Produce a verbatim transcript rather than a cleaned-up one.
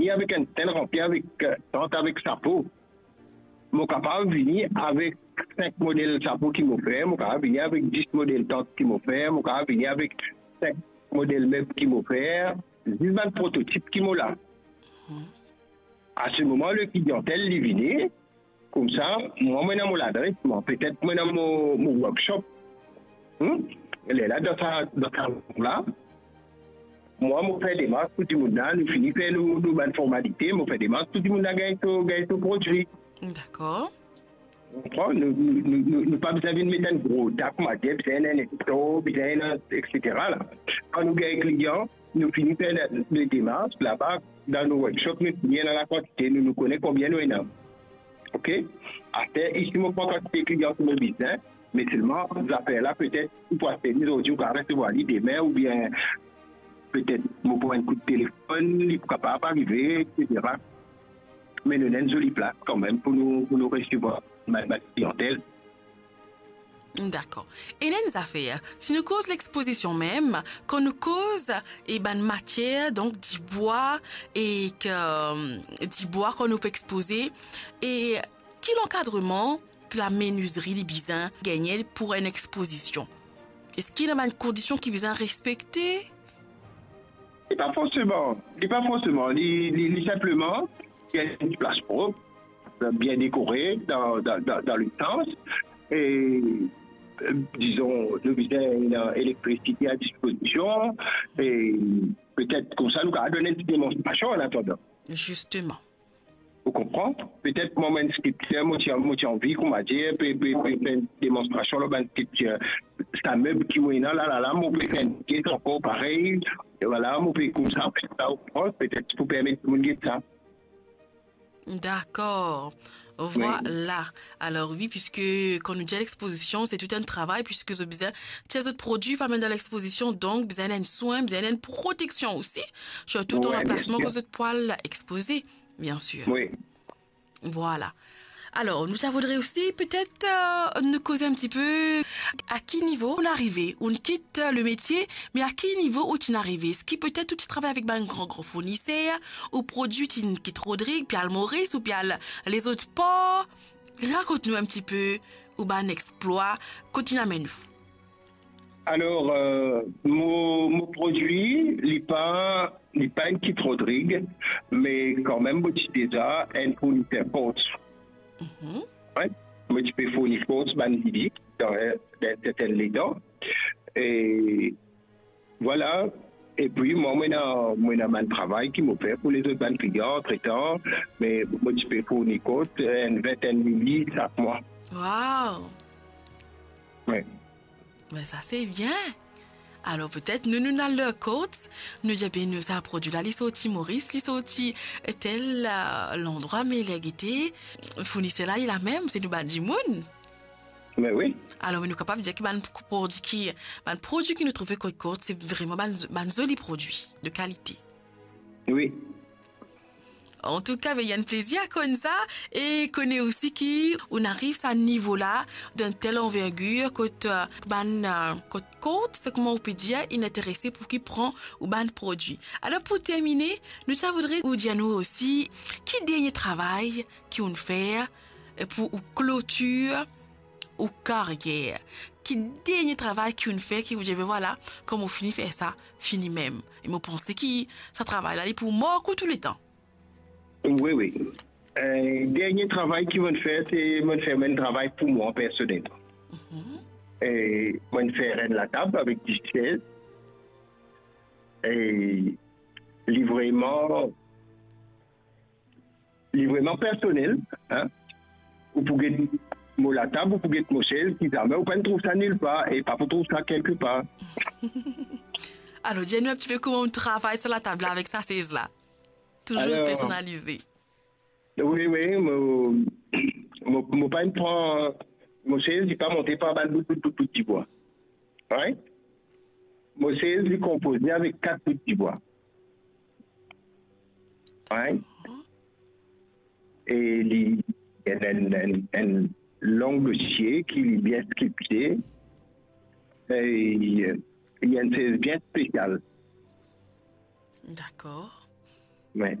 vini avek enn stand ranpli avek, eh, tant avek sapo. Mo kapav vini avek sink model sapo ki mo fer, mo kapav vini avek dis model tant ki mo fer, mo kapav vini avek sink model meb ki mo fer, zis bann prototip ki mo la. Mhm. A se moman, le kliantel, li vini, koumsa, mwa, mo ena mo ladres, mwa, petet mo ena mo, mo workshop. Hmm? Lerla, dan sa, dan sa la, mwa, mo fer demars pou dimoun la, nou fini fer nou, nou bann formalite, mo fer demars pou dimoun la gagn so, gagn so prodwi. Dakor. Ou konpran? Nou, nou, nou, nou, nou pa bizin vinn met enn gro dak, mo dir, bizin enn lektor, bizin enn, et cetera la. Kan nou gagn klian, nou fini fer le, le demars, laba, dan nou workshop, nou fini ena lakantite, nou, nou kone konbien nou ena. Ok? Aster, isi, mo pran kantite klian ki mo bizin, me selman, zafer la, petet, ou pou aste li zordi, ou kapav resevwar li demin, oubien petet, mo pran enn kout telefonn, li pou kapav arive, et cetera. Me nou ena enn zoli plas kanmem pou nou, pou nou resevwar bann, bann kliantel. Dakor. Ena enn zafer, si nou koz lexpozision mem, kan nou koz, e bann matier, donk dibwa, e ke, dibwa kan nou pe expoze, e ki lankadreman ki lamenizri li bizin gagne pou enn expozision? Eski ena bann kondision ki bizin respekte? Li pa forseman, li pa forseman, li, li, li sinpleman, li ena enn plas prop, bien dekore dan, dan, dan, dan le sans, e, eh, dizon, nou bizin ena elektrisite a dispozision, e petet koumsa nou kapav donn enn ti demonstrasion an atandan. Zisteman. Ou konpran? Petet mwa, mo enn skripter, mo ti, mo ti anvi, kouma dir, pe, pe, pe fer enn demonstrasion lor bann skripter. Sa meb ki mo ena la, la, la, mo pe fer enn pies ankor parey. E vwala, mo pe koumsa, sa, ou konpran? Petet pou permet dimoun get sa. Dakor. Wi. Vwala. Alor wi, piske kan nou dir lexpozision, se tou enn travay, piske zot bizin tir zot prodwi, pa mem dan lexpozision, donk bizin enn swin, bizin enn proteksion osi, sirtou dan lanplasman kot zot pou al expoze. Bien sir. Wi. Vwala. Alor, nou ta voudre osi, petet, eh, nou koze enn tipe, a ki nivo ou'nn arive, ou'nn kit, eh, le metie, me a ki nivo ou ti'nn arive? Eski petet ou ti travay avek bann gran, gran fourniser, ou prodwi ti'nn kit Rodrig, pe al Moris, ou pe al lezot por? Rakont nou enn tipe ou bann explwa, kot ti'nn amenn ou. Alor, eh, mo, mo prodwi, li pa, li pa enn kit Rodrig, me kanmem mo ti deza enn fourniser Courts. Mhm. Wi, mo ti pe fourni Courts bann lili dan, dan sertin letan. E vwala. Epi mwa, mo ena, mo ena bann travay ki mo fer pou lezot bann klian antretan, me mo ti pe fourni Courts enn vintenn lili sak mwa. Wow! Wi. Be sa se bien. Alor petet nou, nou al lor Courts, nou dir, be nou, sa prodwi la, li sorti Moris, li sorti tel, eh, landrwa, me ler gete, fourniser la, li la mem, se nou bann dimoun. Me wi. Alor, nou kapav dir ki bann prodwi ki, bann prodwi ki nou trouve kot Courts, se vreman bann, bann zoli prodwi de kalite. Wi. Antouka, be, li enn plezir konn sa, e kone osi ki ou'nn ariv sa nivo la, dan tel anvergir, kot, eh, bann, eh, kot, kot, se kouma ou pe dir, inn interese pou ki pran ou bann prodwi. Alor, pou termine, nou ti a voudre ou dir nou osi, ki dernie travay ki ou'nn fer, eh, pou ou klotir ou karyer? Ki dernie travay ki ou'nn fer, ki ou dir, be vwala, kan mo fini fer sa, fini mem. E mo panse ki sa travay la, li pou mark ou touletan. Wi, wi. Eh, dernie travay ki mo'nn fer, se mo'nn fer enn travay pou mwa, personel. Mhm. Eh, mo'nn fer enn latab avek dis sez. E li vreman, li vreman personel, hein. Ou pou get mo latab, ou pou get mo sez, ki zame ou pa'nn trouv sa nilpar, e pa pou trouv sa kelkepar. Alor, dir nou enn tipe kouma ou travay sa latab la avek sa sez la. Toulzour personalize. Wi, wi, mo, mo, mo pa'nn pran, mo sez, li pa monte par bann bout, bout, bout, bout dibwa. Right? Mo sez, li konpoze avek kat bout dibwa. Right? E li, li ena enn, enn, enn long dosie ki li bien skripte. E li, li enn sez bien spesial. Dakor. Wi.